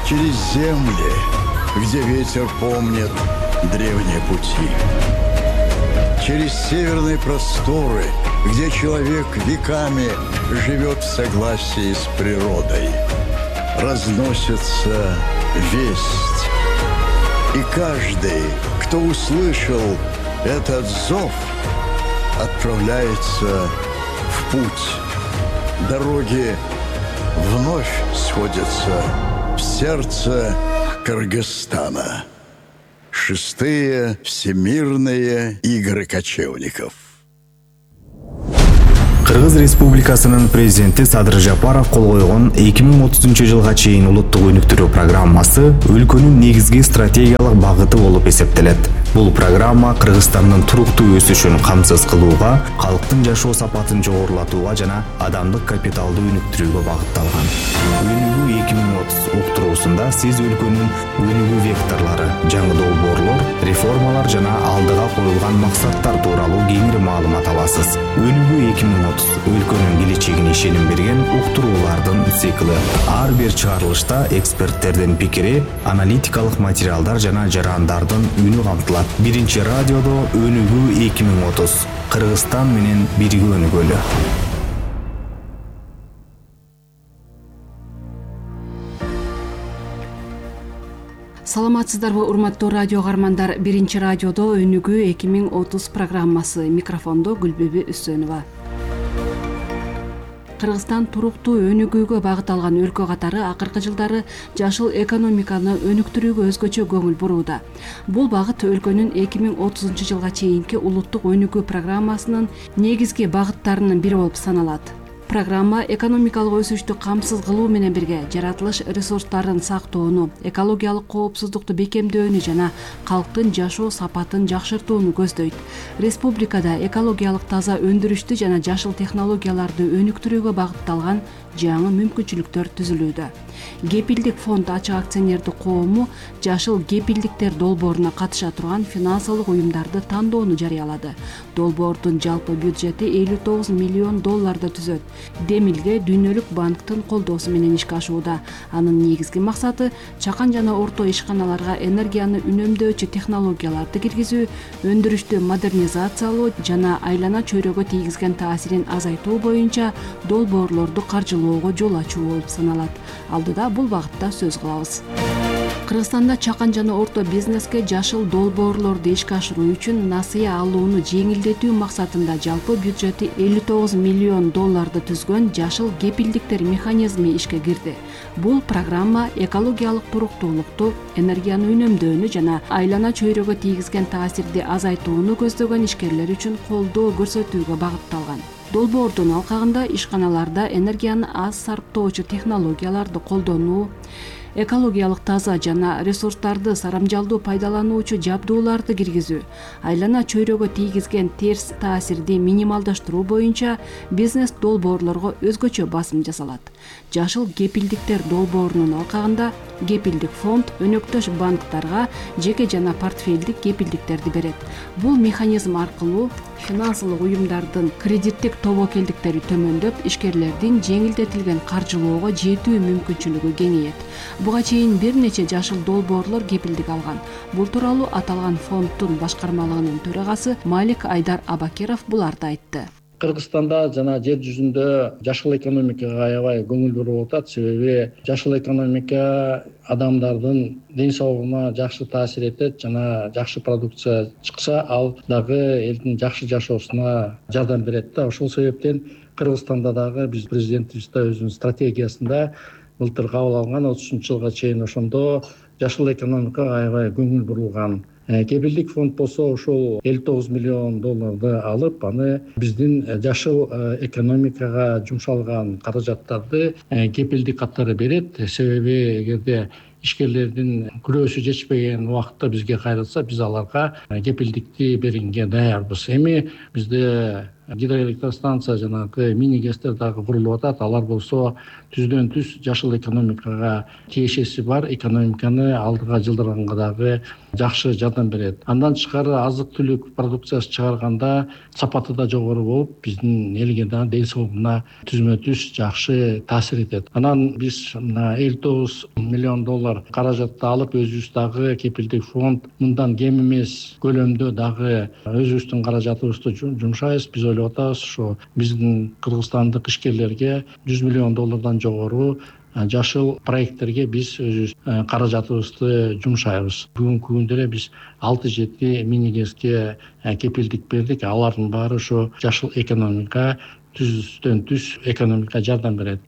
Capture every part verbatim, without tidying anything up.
через земли, где ветер помнит древние пути. Через северные просторы, где человек веками живет в согласии с природой. Разносится весть. И каждый, кто услышал этот зов, отправляется в путь. Дороги вновь сходятся в сердце Кыргызстана. Шестые всемирные игры кочевников. Кыргыз Республикасынын президенти Садыр Жапаров кол койгон эки миң отузунчу жылга чейин улуттук өнүктүрүү программасы өлкөнүн негизги стратегиялык багыты болуп эсептелет. Бул программа Кыргызстандын туруктуу өсүшүн камсыз кылууга, калктын жашоо сапатын жогорулатууга жана адамдык капиталды өнүктүрүүгө багытталган. Өнүгүү эки миң отуз уктуруусунда сиз өлкөнүн өнүгүү векторлору, жаңы долбоорлор, реформалар жана алдыга коюлган максаттар тууралуу кеңири маалымат аласыз. Өнүгүү эки миң отуз өлкөнүн келечегине ишеним берген уктуруулардын цикли. Ар бир чыгарылышта эксперттердин пикири, аналитикалык материалдар жана жарандардын үнү камтылат. Биринчи радиодо өнүгүү эки миң отуз. Кыргызстан менен бирге өнүгөлү. Саламатсыздарбы, урматтуу радио каармандар. Биринчи радиодо өнүгүү эки миң отуз программасы. Микрофондо Гүлбүбү Үсөнова. Кыргызстан туруктуу өнүгүүгө багыт алган өлкө катары акыркы жылдары жашыл экономиканы өнүктүрүүгө өзгөчө көңүл бурууда. Бул багыт өлкөнүн эки миң отузунчу жылга чейинки улуттук өнүгүү программасынын негизги багыттарынын бири болуп саналат. Программа экономикалык өсүштү камсыз кылуу менен бирге жаратылыш ресурстарын сактоону, экологиялык коопсуздукту бекемдөөнү жана калктын жашоо сапатын жакшыртууну көздөйт. Республикада экологиялык таза өндүрүштү жана жашыл технологияларды өнүктүрүүгө багытталган жаңы мүмкүнчүлүктөр түзүлүүдө. Кепилдик фонд ачык акционердик коому жашыл кепилдиктер долбооруна катыша турган финансылык уюмдарды тандоону жарыялады. Долбоордун жалпы бюджети элүү тогуз миллион долларды түзөт. Демилге Дүйнөлүк банктын колдоосу менен ишке ашууда. Анын негизги максаты чакан жана орто ишканаларга энергияны үнөмдөөчү технологияларды киргизүү, өндүрүштү модернизациялоо жана айлана чөйрөгө тийгизген таасирин азайтуу боюнча долбоорлорду каржылоого жол ачуу болуп саналат. Алдыда бул багытта сөз кылабыз. Кыргызстанда чакан жана орто бизнеске жашыл долбоорлорду ишке ашыруу үчүн насыя алууну жеңилдетүү максатында жалпы бюджети элүү тогуз миллион долларды түзгөн жашыл кепилдиктер механизми ишке кирди. Бул программа экологиялык туруктуулукту, энергияны үнөмдөөнү жана айлана чөйрөгө тийгизген таасирди азайтууну көздөгөн ишкерлер үчүн колдоо көрсөтүүгө багытталган. Долбоордун алкагында ишканаларда энергияны аз сарптоочу технологияларды колдонуу, экологиялык таза жана ресурстарды сарамжалдуу пайдалануучу жабдууларды киргизүү, айлана чөйрөгө тийгизген терс таасирди минималдаштыруу боюнча бизнес долбоорлорго өзгөчө басым жасалат. Жашыл кепилдиктер долбоорунун алкагында кепилдик фонд өнөктөш банктарга жеке жана портфелдик кепилдиктерди берет. Бул механизм аркылуу финансылык уюмдардын кредиттик тобокелдиктери төмөндөп, ишкерлердин жеңилдетилген каржылоого жетүү мүмкүнчүлүгү кеңейет. Буга чейин бир нече жашыл долбоорлор кепилдик алган. Бул тууралуу аталган фонддун башкармалыгынын төрагасы Малик Айдар Абакиров буларды айтты. Кыргызстанда жана жер жүзүндө жашыл экономикага аябай көңүл буруп атат. Себеби жашыл экономика адамдардын ден соолугуна жакшы таасир этет жана жакшы продукция чыкса, ал дагы элдин жакшы жашоосуна жардам берет да. Ошол себептен Кыргызстанда дагы биз президентибиз да өзүнүн стратегиясында былтыр кабыл алган отузунчу жылга чейин ошондо жашыл экономикага аябай көңүл бурулган. Кепилдик фонд болсо ошол элүү тогуз миллион долларды алып, аны биздин жашыл экономикага жумшалган каражаттарды кепилдик катары берет. Себеби эгерде ишкерлердин күрөөсү жетишпеген убакытта бизге кайрылса, биз аларга кепилдикти бергенге даярбыз. Эми бизде гидроэлектростанция жанагы мини гэстер дагы курулуп атат. Алар болсо түздөн түз жашыл экономикага тиешеси бар, экономиканы алдыга жылдырганга дагы жакшы жардам берет. Андан тышкары азык түлүк продукциясы чыгарганда сапаты да жогору болуп, биздин элге да ден соолугуна түзмө түз жакшы таасир этет. Анан биз мына элүү тогуз миллион доллар каражатты алып, өзүбүз дагы кепилдик фонд мындан кем эмес көлөмдө дагы өзүбүздүн каражатыбызды жумшайбыз. Биз ойлоп атабыз, ошо биздин кыргызстандык ишкерлерге жүз миллион доллардан жогору жашыл проекттерге биз өзүбүз каражатыбызды жумшайбыз. Бүгүнкү күндө эле биз алты жети мини гэске кепилдик бердик. Алардын баары ошо жашыл экономика, түздөн түз экономикага жардам берет.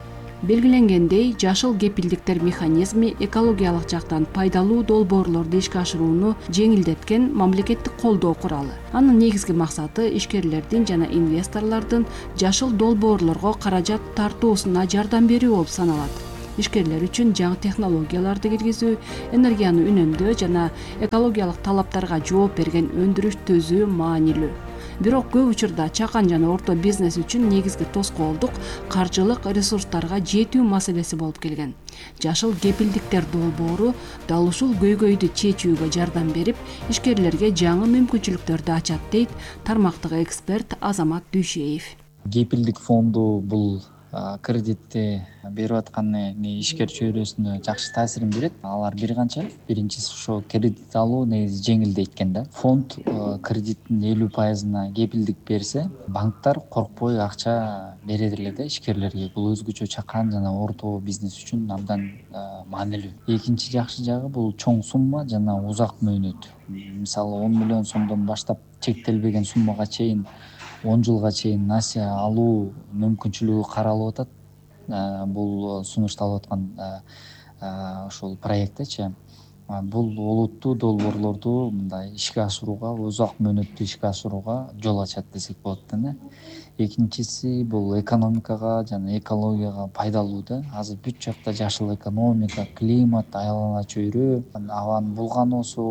Белгиленгендей, жашыл кепилдиктер механизми экологиялык жактан пайдалуу долбоорлорду ишке ашырууну жеңилдеткен мамлекеттик колдоо куралы. Анын негизги максаты ишкерлердин жана инвесторлордун жашыл долбоорлорго каражат тартуусуна жардам берүү болуп саналат. Ишкерлер үчүн жаңы технологияларды киргизүү, энергияны үнөмдөө жана экологиялык талаптарга жооп берген өндүрүш төзүү маанилүү. Бирок көп учурда чакан жана орто бизнес үчүн негизги тоскоолдук каржылык ресурстарга жетүү маселеси болуп келген. Жашыл кепилдиктер долбоору дал ушул көйгөйдү чечүүгө жардам берип, ишкерлерге жаңы мүмкүнчүлүктөрдү ачат, дейт тармактагы эксперт Азамат Дүйшеев. Кепилдик фонду бул кредитти берип аткан ишкер чөйрөсүнө жакшы таасирин берет. Алар бир канча. Биринчиси ошо кредит алуу негизи жеңилдейт экен да. Фонд кредиттин элүү пайызына кепилдик берсе, банктар коркпой акча берет эле да ишкерлерге. Бул өзгөчө чакан жана орто бизнес үчүн абдан маанилүү. Экинчи жакшы жагы бул чоң сумма жана узак мөөнөт. Мисалы он миллион сомдон баштап чектелбеген суммага чейин он жылга чейин насия алуу мүмкүнчүлүгү каралып атат. Бул сунушталып аткан ошол проекттечи. Бул олуттуу долбоорлорду мындай ишке ашырууга, узак мөөнөттүү ишке ашырууга жол ачат десек болот да. Экинчиси бул экономикага жана экологияга пайдалуу да. Азыр бүт жакта жашыл экономика, климат, айлана чөйрө, абанын булганоосу,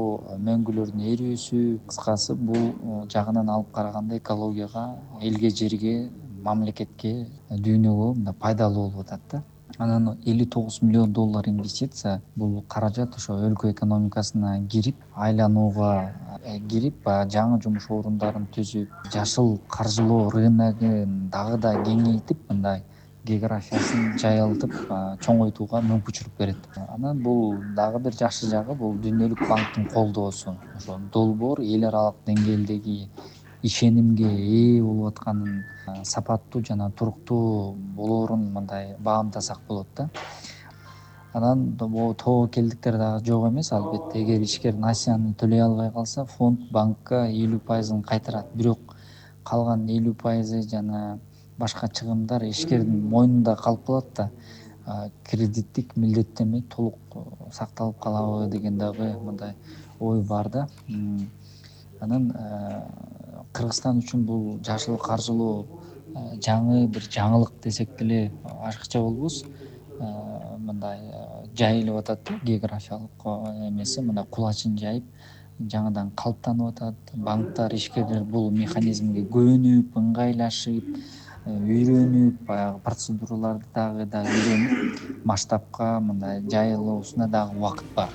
мөңгүлөрдүн эрүүсү, кыскасы бул жагынан алып караганда экологияга, элге, жерге, мамлекетке, дүйнөгө мындай пайдалуу болуп атат да. Анан элүү тогуз миллион доллар инвестиция, бул каражат ошо өлкө экономикасына кирип, айланууга кирип, жаңы жумуш орундарын түзүп, жашыл каржылоо рыногун дагы да кеңейтип, мындай географиясын жайылтып, чоңойтууга мүмкүнчүлүк берет. Анан бул дагы бир жакшы жагы, бул Дүйнөлүк банктын колдоосу. Ошо долбоор эл аралык деңгээлдеги ишенимге ээ болуп атканын, сапаттуу жана туруктуу болоорун мындай баамдасак болот да. Анан тобокелдиктер дагы жок эмес, албетте. Эгер ишкер насияны төлөй албай калса, фонд банкка элүү пайызын кайтарат. Бирок калган элүү пайызы жана башка чыгымдар ишкердин мойнунда калып калат да. Кредиттик милдеттенме толук сакталып калабы деген дагы мындай ой бар да. Анан Кыргызстан үчүн бул жашыл каржылоо жаңы бир жаңылык десек деле артыкча болбос. Мындай жайылып атат, географиялык эмеси мындай кулачын жайып, жаңыдан калыптанып атат. Банктар, ишкерлер бул механизмге көнүп, ыңгайлашып, үйрөнүп, баягы процедураларды дагы да үйрөнүп, масштабка мындай жайылуусуна дагы убакыт бар.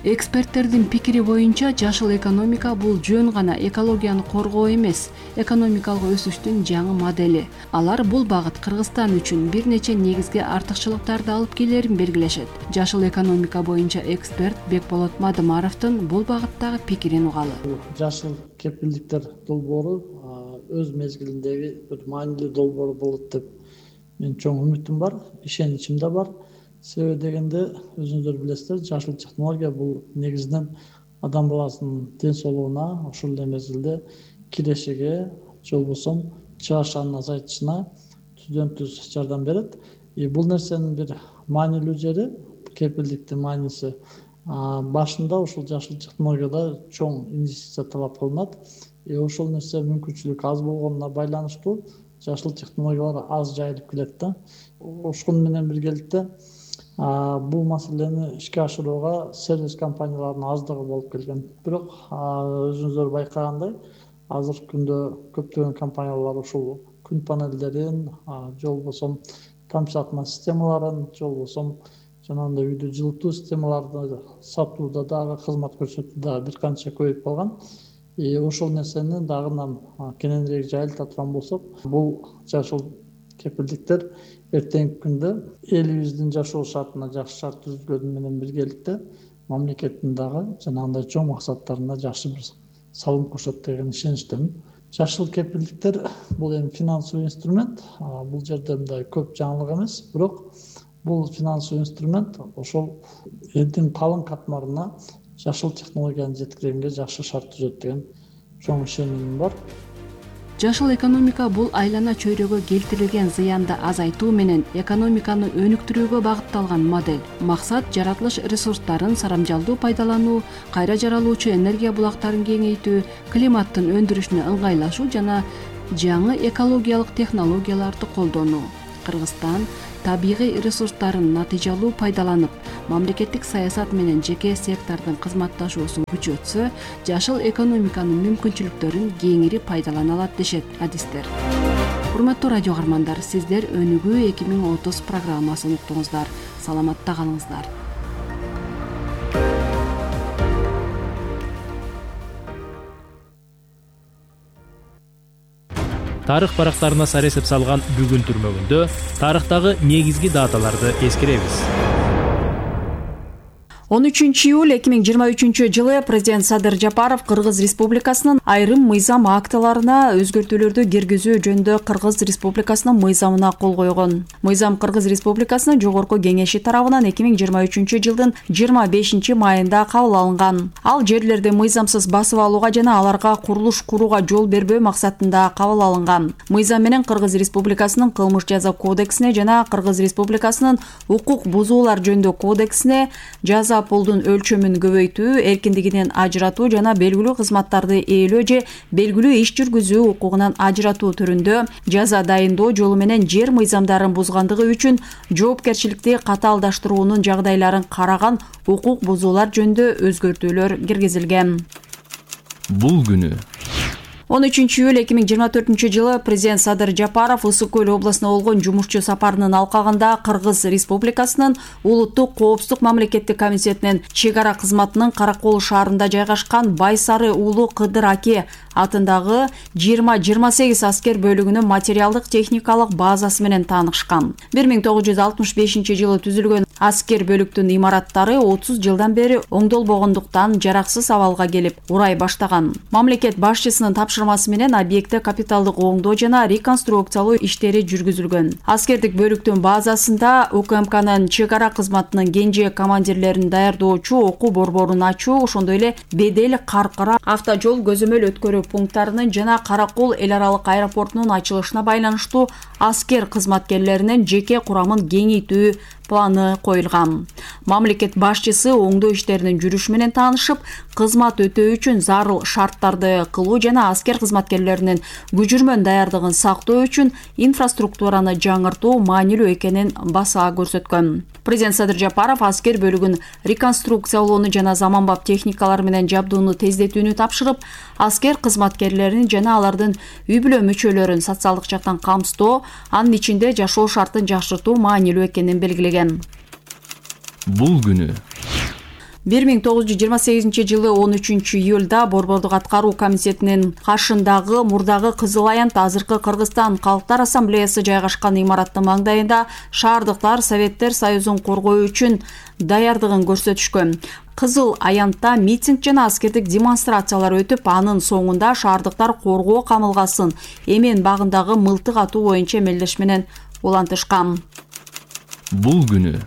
Эксперттердин пикири боюнча, жашыл экономика бул жөн гана экологияны коргоо эмес, экономикалык өсүштүн жаңы модели. Алар бул багыт Кыргызстан үчүн бир нече негизги артыкчылыктарды алып келерин белгилешет. Жашыл экономика боюнча эксперт Бекболот Мадымаровдун бул багыттагы пикирин угалы. Жашыл кепилдиктер долбоору өз мезгилиндеги бир маанилүү долбоор болот деп мен чоң үмүтүм бар, ишеничим да бар. Себеби дегенде, өзүңүздөр билесиздер, жашыл технология бул негизинен адам баласынын ден соолугуна, ошол эле мезгилде кирешиге, же болбосо чыгарчанын азайтышына түздөн түз жардам берет. И бул нерсенин бир маанилүү жери, кепилдиктин мааниси башында ушул жашыл технологияда чоң инвестиция талап кылынат. И ошол нерсе мүмкүнчүлүк аз болгонуна байланыштуу жашыл технологиялар аз жайылып келет да. Ошол менен биргеликте бул маселени ишке ашырууга сервис компанияларынын аздыгы болуп келген. Бирок өзүңүздөр байкагандай, азыркы күндө көптөгөн компаниялар ушул күн панелдерин же болбосо тамчылатма системаларын же болбосо жанагындай үйдү жылытуу системаларды сатууда дагы кызмат көрсөтүүдө бир канча көбөйүп калган. Ошол нерсени дагы кененирээк жайылта турган болсок, бул жашыл кепилдиктер эртеңки күндө элибиздин жашоо шартына жакшы шарт түзүлгөнү менен биргеликте мамлекеттин дагы жанагындай чоң максаттарына жакшы бир салым кошот деген ишеничтемин. Жашыл кепилдиктер бул эми финансовый инструмент. Бул жерде мындай көп жаңылык эмес, бирок бул финансовый инструмент ошол элдин калың катмарына жашыл технологияны жеткиргенге жакшы шарт түзөт деген чоң ишенимим бар. Жашыл экономика бул айлана чөйрөгө келтирилген зыянды азайтуу менен экономиканы өнүктүрүүгө багытталган модель. Максат жаратылыш ресурстарын сарамжалдуу пайдалануу, кайра жаралуучу энергия булактарын кеңейтүү, климаттын өндүрүшүнө ыңгайлашуу жана жаңы экологиялык технологияларды колдонуу. Кыргызстан табигый ресурстарын натыйжалуу пайдаланып, мамлекеттик саясат менен жеке сектордун кызматташуусун күчөтсө, жашыл экономиканын мүмкүнчүлүктөрүн кеңири пайдалана алат дешет адистер. Урматтуу радио каармандар, сиздер Өнүгүү эки миң отуз программасын уктуңуздар. Саламатта калыңыздар. Тарых барактарына сар эсеп салган бүгүн түрмөгүндө тарыхтагы негизги даталарды эскеребиз. он үчүнчү июль эки миң жыйырма үчүнчү жылы президент Садыр Жапаров Кыргыз Республикасынын айрым мыйзам актыларына өзгөртүүлөрдү киргизүү жөнүндө Кыргыз Республикасынын мыйзамына кол койгон. Мыйзам Кыргыз Республикасынын Жогорку Кеңеши тарабынан эки миң жыйырма үчүнчү жылдын жыйырма бешинчи майында кабыл алынган. Ал жерлерди мыйзамсыз басып алууга жана аларга курулуш курууга жол бербөө максатында кабыл алынган. Мыйзам менен Кыргыз Республикасынын Кылмыш жаза кодексине жана Кыргыз Республикасынын укук бузуулар жөнүндө кодексине жаза пулдун өлчөмүн көбөйтүү, эркиндигинен ажыратуу жана белгилүү кызматтарды ээлөө же белгилүү иш жүргүзүү укугунан ажыратуу түрүндө жаза дайындоо жолу менен жер мыйзамдарын бузгандыгы үчүн жоопкерчиликти катаалдаштыруунун жагдайларын караган укук бузуулар жөнүндө өзгөртүүлөр киргизилген. Бул күнү он үчүнчү июль эки миң жыйырма төртүнчү жылы президент Садыр Жапаров Ысык көл областына болгон жумушчу сапарынын алкагында Кыргыз Республикасынын Улуттук коопсуздук мамлекеттик комитетинин чек ара кызматынын Каракол шаарында жайгашкан Байсары уулу Кыдыр Аке атындагы жыйырма жыйырма сегиз аскер бөлүгүнүн материалдык техникалык базасы менен таанышкан. бир миң тогуз жүз алтымыш бешинчи жылы түзүлгөн аскер бөлүктүн имараттары отуз жылдан бери оңдолбогондуктан жараксыз абалга келип урай баштаган. Мамлекет башчысынын тапшырмасы менен объектте капиталдык оңдоо жана реконструкциялоо иштери жүргүзүлгөн. Аскердик бөлүктүн базасында У К М Кнын чек ара кызматынын кенже командирлерин даярдоочу окуу борборун ачуу, ошондой эле Бедел, Каркара автожол көзөмөл өткөрүү пункттарынын жана Каракол эл аралык аэропортунун ачылышына байланыштуу аскер кызматкерлеринин жеке курамын кеңейтүү планы коюлган. Мамлекет башчысы оңдоо иштеринин жүрүшү менен таанышып, кызмат өтөө үчүн зарыл шарттарды кылуу жана аскер кызматкерлеринин күжүрмөн даярдыгын сактоо үчүн инфраструктураны жаңыртуу маанилүү экенин баса көрсөткөн. Президент Садыр Жапаров аскер бөлүгүн реконструкциялоону жана заманбап техникалар менен жабдууну тездетүүнү тапшырып, аскер кызматкерлерин жана алардын үй бүлө мүчөлөрүн социалдык жактан камсыздоо, анын ичинде жашоо шартын жакшыртуу маанилүү экенин белгилеген. Бул күнү бир миң тогуз жүз жыйырма сегизинчи жылы он үчүнчү июлда Борбордук аткаруу комитетинин каршындагы мурдагы Кызыл Аянт азыркы Кыргызстан Калктар ассамблеясы жайгашкан имараттын маңдайында шаардыктар Советтер Союзун коргоо үчүн даярдыгын көрсөтүшкөн. Кызыл Аянтта митинг жана аскердик демонстрациялар өтүп, анын соңунда шаардыктар коргоо камылгасын эмен багындагы мылтык атуу боюнча эмелдеш менен улантышкан. Бул күнү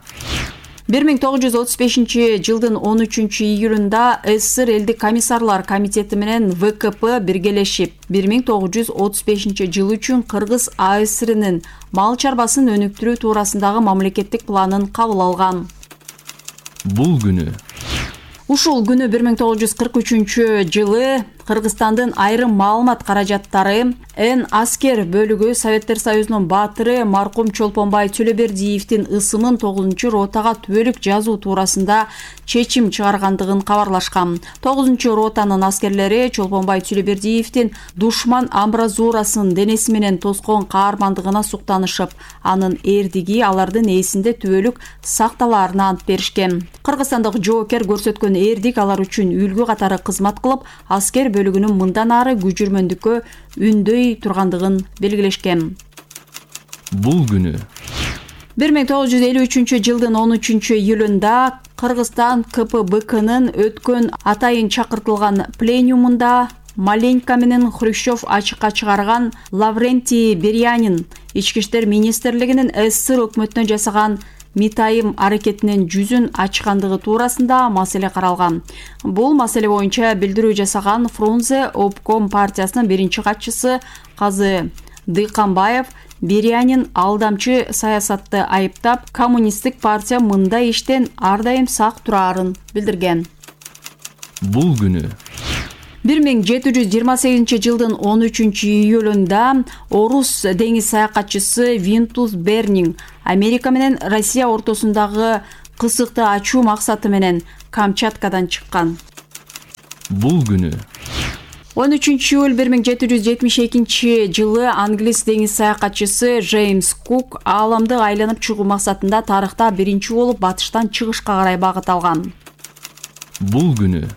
бир миң тогуз жүз отуз бешинчи жылдын он үчүнчү июлунда СССР элдик комиссарлар комитети менен В К П биргелешип, бир миң тогуз жүз отуз бешинчи жыл үчүн Кыргыз А С Рнин мал чарбасын өнүктүрүү туурасындагы мамлекеттик планын кабыл алган. Бул күнү Ушул күнү бир миң тогуз жүз кырк үчүнчү жылы Кыргызстандын айрым маалымат каражаттары Н аскер бөлүгү Советтер Союзунун баатыры маркум Чолпонбай Төлөбердиевдин ысымын тогузунчу ротага түбөлүк жазуу туурасында чечим чыгаргандыгын кабарлашкан. тогузунчу ротанын аскерлери Чолпонбай Төлөбердиевдин душман амбразурасын денеси менен тоскон каармандыгына суктанышып, анын эрдиги алардын ээсинде түбөлүк сакталаарына ант беришкен. Кыргызстандык жоокер көрсөткөн эрдик алар үчүн үлгү катары кызмат кылып, аскер бөлүгүнүн мындан ары күжүрмөндүккө үндөй тургандыгын белгилешкен. Бул күнү бир миң тогуз жүз элүү үчүнчү жылдын он үчүнчү июлунда Кыргызстан К П Б К'нын өткөн атайын чакыртылган пленумунда Маленько менен Хрущев ачыкка чыгарган Лаврентий Бериянин Ички иштер министрлигинин СССР өкмөтүнө жасаган митайым аракетинин жүзүн ачкандыгы туурасында маселе каралган. Бул маселе боюнча билдирүү жасаган Фрунзе обком партиясынын биринчи катчысы Казы Дыйканбаев Бериянин алдамчы саясатты айыптап, коммунисттик партия мындай иштен ар дайым сак турарын билдирген. Бул күнү бир миң жети жүз жыйырма сегизинчи жылдын он үчүнчү июлунда орус деңиз саякатчысы Винтус Бернинг Америка менен Россия ортосундагы кысыкты ачуу максаты менен Камчаткадан чыккан. Бул күнү он үчүнчү июль бир миң жети жүз жетимиш экинчи жылы англис деңиз саякатчысы Джеймс Кук ааламды айланып чыгуу максатында тарыхта биринчи болуп батыштан чыгышка карай багыт алган. Бул күнү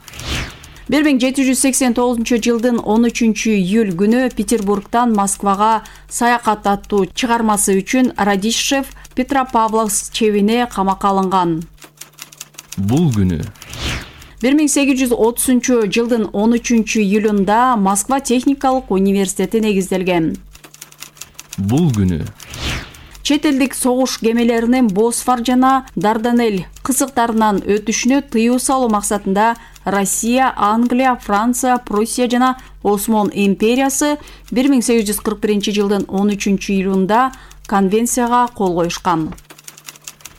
бир миң жети жүз сексен тогузунчу жылдын он үчүнчү июль күнү Петербургдан Москвага саякат аттуу чыгармасы үчүн Радищев Петропавловск чебине камакка алынган. Бул күнү бир миң сегиз жүз отузунчу жылдын он үчүнчү июлунда Москва техникалык университети негизделген. Бул күнү чет элдик согуш кемелеринин Босфор жана Дарданель кысыктарынан өтүшүнө тыюу салуу максатында Россия, Англия, Франция, Пруссия жана Осмон империясы бир миң сегиз жүз кырк биринчи жылдын он үчүнчү июлунда конвенцияга кол коюшкан.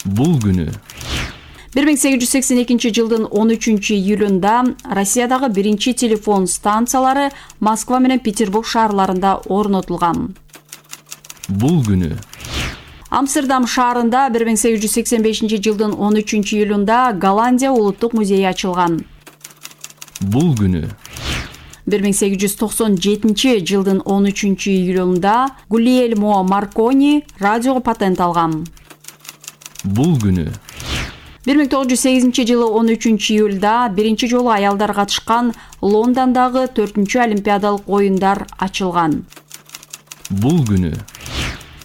Бул күнү бир миң сегиз жүз сексен экинчи жылдын он үчүнчү июлунда Россиядагы биринчи телефон станциялары Москва менен Петербург шаарларында орнотулган. Бул күнү Амстердам шаарында бир миң сегиз жүз сексен бешинчи жылдын он үчүнчү июлунда Голландия улуттук музейи ачылган. Бул күнү бир миң сегиз жүз токсон жетинчи жылдын он үчүнчү июлунда Гульельмо Маркони радиого патент алган. Бул күнү бир миң тогуз жүз сегизинчи жылы он үчүнчү июлда биринчи жолу аялдар катышкан Лондондогу төртүнчү олимпиадалык оюндар ачылган. Бул күнү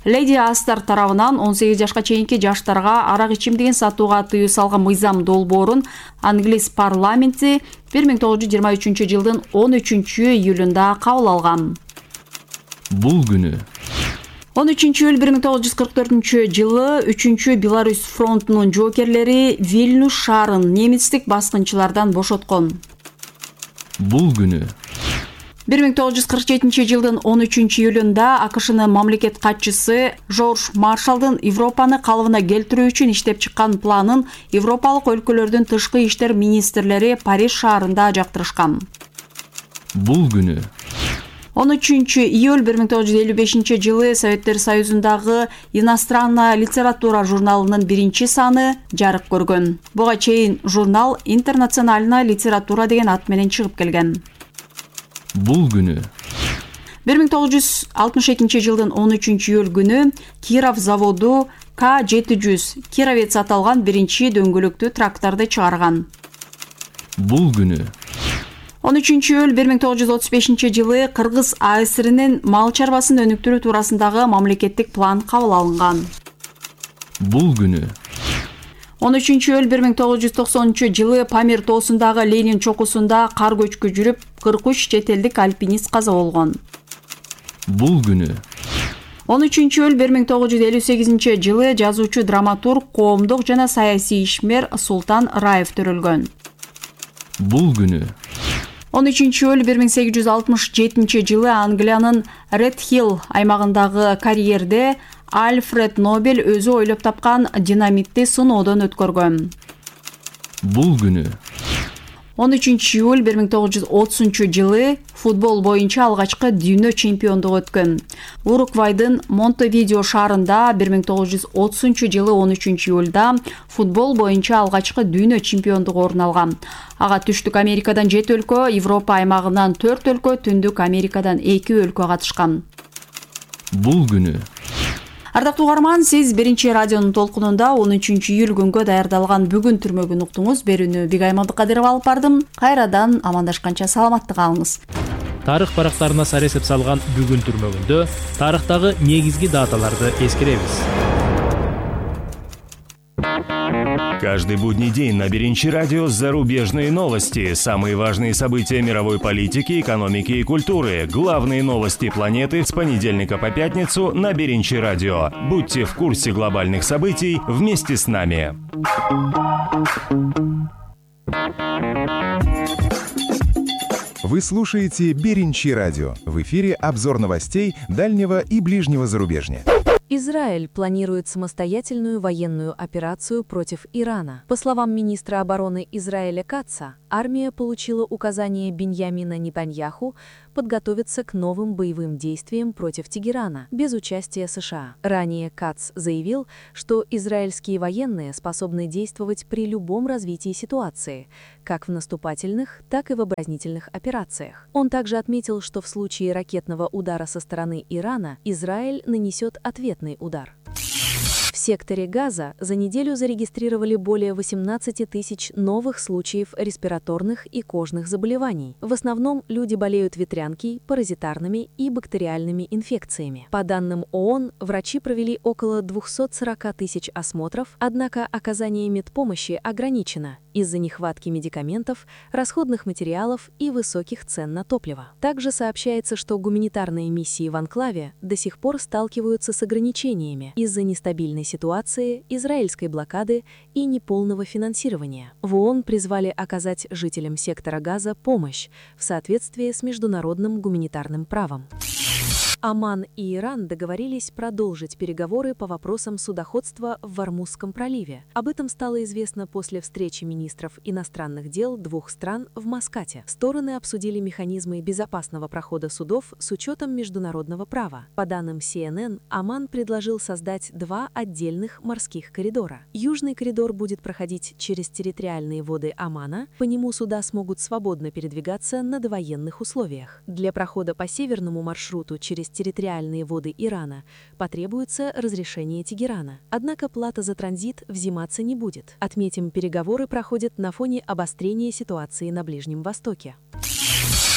Леди Астар тарабынан он сегиз жашка чейинки жаштарга арак ичимдигин сатууга тыюу салган мыйзам долбоорун англис парламенти бир миң тогуз жүз жыйырма үчүнчү жылдын он үчүнчү июлунда кабыл алган. Бул күнү он үчүнчү июль бир миң тогуз жүз кырк төртүнчү жылы үчүнчү Беларусь фронтунун жоокерлери Вильнюс шаарын немецтик баскынчылардан бошоткон. Бул күнү бир миң тогуз жүз кырк жетинчи жылдын он үчүнчү июлунда А К Шнын мамлекет катчысы Жорж Маршалдын Европаны калыбына келтирүү үчүн иштеп чыккан планын европалык өлкөлөрдүн тышкы иштер министрлери Париж шаарында жактырышкан. Бул күнү он үчүнчү июль бир миң тогуз жүз элүү бешинчи жылы Советтер Союзундагы иностранная литература журналынын биринчи саны жарык көргөн. Буга чейин журнал интернациональная литература деген ат менен чыгып келген. Бул күнү бир миң тогуз жүз алтымыш экинчи жылдын он үчүнчү июль күнү Киров заводу К жети жүз Кировец аталган биринчи дөңгөлөктүү тракторду чыгарган. Бул күнү он үчүнчү июль бир миң тогуз жүз отуз бешинчи жылы Кыргыз А С Рнин мал чарбасын өнүктүрүү туурасындагы мамлекеттик план кабыл алынган. Бул күнү он үчүнчү июль бир миң тогуз жүз токсонунчу жылы Памир тоосундагы Ленин чокусунда кар көчкү жүрүп, кырк үч чет элдик альпинист каза болгон. Бул күнү он үчүнчү июль бир миң тогуз жүз элүү сегизинчи жылы жазуучу, драматург, коомдук жана саясий ишмер Султан Раев төрөлгөн. Бул күнү он үчүнчү июль бир миң сегиз жүз алтымыш жетинчи жылы Англиянын Редхилл аймагындагы карьерде Альфред Нобель өзү ойлоп тапкан динамитти сыноодон өткөргөн. Бул күнү он үчүнчү июль бир миң тогуз жүз отузунчу жылы футбол боюнча алгачкы дүйнө чемпиондугу өткөн. Уругвайдын Монтевидео шаарында бир миң тогуз жүз отузунчу жылы он үчүнчү июлда футбол боюнча алгачкы дүйнө чемпиондугу орун алган. Ага Түштүк Америкадан жети өлкө, Европа аймагынан төрт өлкө, Түндүк Америкадан эки өлкө катышкан. Бул күнү Ардактуу угарман, сиз биринчи радионун толкунунда он үчүнчү июль күнгө даярдалган бүгүн түрмөгүн уктуңуз. Берүүнү Бигай Мамдыкадырова алып бардым. Кайрадан амандашканча саламатты калыңыз. тарых барактарына сар эсеп салган бүгүн түрмөгүндө тарыхтагы негизги даталарды эскеребиз. Каждый будний день на Беринчи радио зарубежные новости, самые важные события мировой политики, экономики и культуры, главные новости планеты с понедельника по пятницу на Беринчи радио. Будьте в курсе глобальных событий вместе с нами. Вы слушаете Беринчи радио. В эфире обзор новостей дальнего и ближнего зарубежья. Израиль планирует самостоятельную военную операцию против Ирана. По словам министра обороны Израиля Катца, армия получила указание Биньямина Нетаньяху подготовиться к новым боевым действиям против Тегерана без участия США. Ранее Катц заявил, что израильские военные способны действовать при любом развитии ситуации, как в наступательных, так и в оборонительных операциях. Он также отметил, что в случае ракетного удара со стороны Ирана Израиль нанесет ответный удар. В секторе Газа за неделю зарегистрировали более восемнадцати тысяч новых случаев респираторных и кожных заболеваний. В основном люди болеют ветрянкой, паразитарными и бактериальными инфекциями. По данным ООН, врачи провели около двухсот сорока тысяч осмотров, однако оказание медпомощи ограничено из-за нехватки медикаментов, расходных материалов и высоких цен на топливо. Также сообщается, что гуманитарные миссии в анклаве до сих пор сталкиваются с ограничениями из-за нестабильной ситуации, израильской блокады и неполного финансирования. В ООН призвали оказать жителям сектора Газа помощь в соответствии с международным гуманитарным правом. Оман и Иран договорились продолжить переговоры по вопросам судоходства в Ормузском проливе. Об этом стало известно после встречи министров иностранных дел двух стран в Маскате. Стороны обсудили механизмы безопасного прохода судов с учетом международного права. По данным си эн эн, Оман предложил создать два отдельных морских коридора. Южный коридор будет проходить через территориальные воды Омана, по нему суда смогут свободно передвигаться на довоенных условиях. Для прохода по северному маршруту через территориальные воды Ирана потребуется разрешение Тегерана. Однако плата за транзит взиматься не будет. Отметим, переговоры проходят на фоне обострения ситуации на Ближнем Востоке.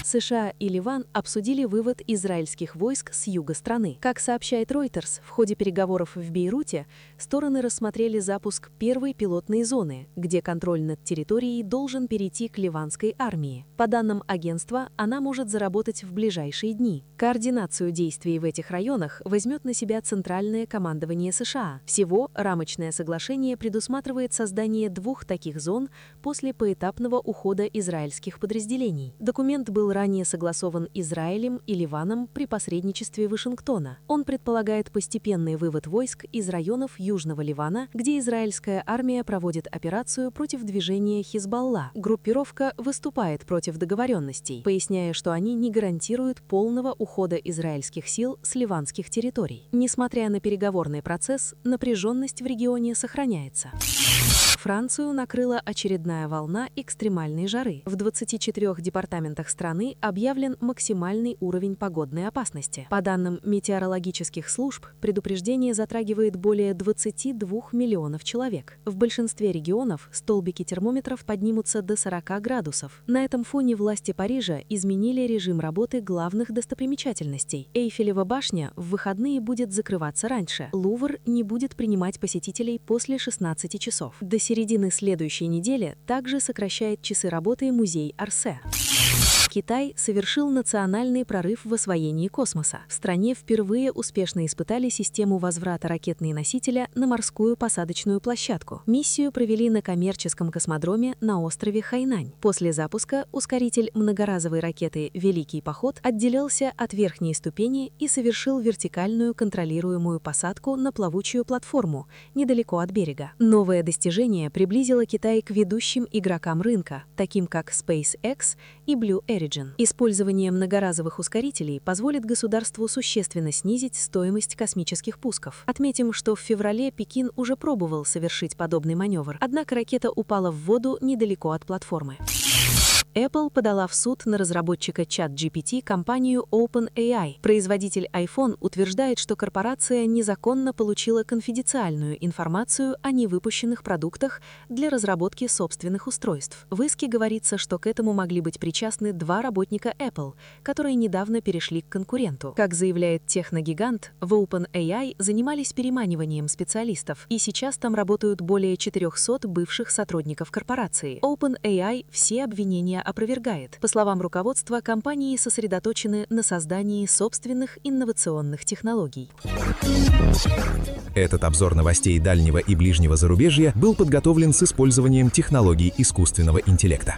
США и Ливан обсудили вывод израильских войск с юга страны. Как сообщает Reuters, в ходе переговоров в Бейруте стороны рассмотрели запуск первой пилотной зоны, где контроль над территорией должен перейти к ливанской армии. По данным агентства, она может заработать в ближайшие дни. Координацию действий в этих районах возьмет на себя Центральное командование США. Всего рамочное соглашение предусматривает создание двух таких зон после поэтапного ухода израильских подразделений. Документ был ранее согласован Израилем и Ливаном при посредничестве Вашингтона. Он предполагает постепенный вывод войск из районов Южного Ливана, где израильская армия проводит операцию против движения Хизбалла. Группировка выступает против договоренностей, поясняя, что они не гарантируют полного ухода израильских сил с ливанских территорий. Несмотря на переговорный процесс, напряженность в регионе сохраняется. Францию накрыла очередная волна экстремальной жары. В двадцати четырёх департаментах страны объявлен максимальный уровень погодной опасности. По данным метеорологических служб, предупреждение затрагивает более двадцати двух миллионов человек. В большинстве регионов столбики термометров поднимутся до сорока градусов. На этом фоне власти Парижа изменили режим работы главных достопримечательностей. Эйфелева башня в выходные будет закрываться раньше. Лувр не будет принимать посетителей после шестнадцати часов. До середины следующей недели также сокращает часы работы музей Орсе. Китай совершил национальный прорыв в освоении космоса. В стране впервые успешно испытали систему возврата ракетные носителя на морскую посадочную площадку. Миссию провели на коммерческом космодроме на острове Хайнань. После запуска ускоритель многоразовой ракеты «Великий поход» отделился от верхней ступени и совершил вертикальную контролируемую посадку на плавучую платформу недалеко от берега. Новое достижение приблизило Китай к ведущим игрокам рынка, таким как SpaceX и Blue Origin. Использование многоразовых ускорителей позволит государству существенно снизить стоимость космических пусков. Отметим, что в феврале Пекин уже пробовал совершить подобный маневр, однако ракета упала в воду недалеко от платформы. Apple подала в суд на разработчика чат джи пи ти компанию OpenAI. Производитель iPhone утверждает, что корпорация незаконно получила конфиденциальную информацию о невыпущенных продуктах для разработки собственных устройств. В иске говорится, что к этому могли быть причастны два работника Apple, которые недавно перешли к конкуренту. Как заявляет техногигант, в OpenAI занимались переманиванием специалистов, и сейчас там работают более четырехсот бывших сотрудников корпорации. OpenAI все обвинения опровергает. По словам руководства, компании сосредоточены на создании собственных инновационных технологий. Этот обзор новостей дальнего и ближнего зарубежья был подготовлен с использованием технологий искусственного интеллекта.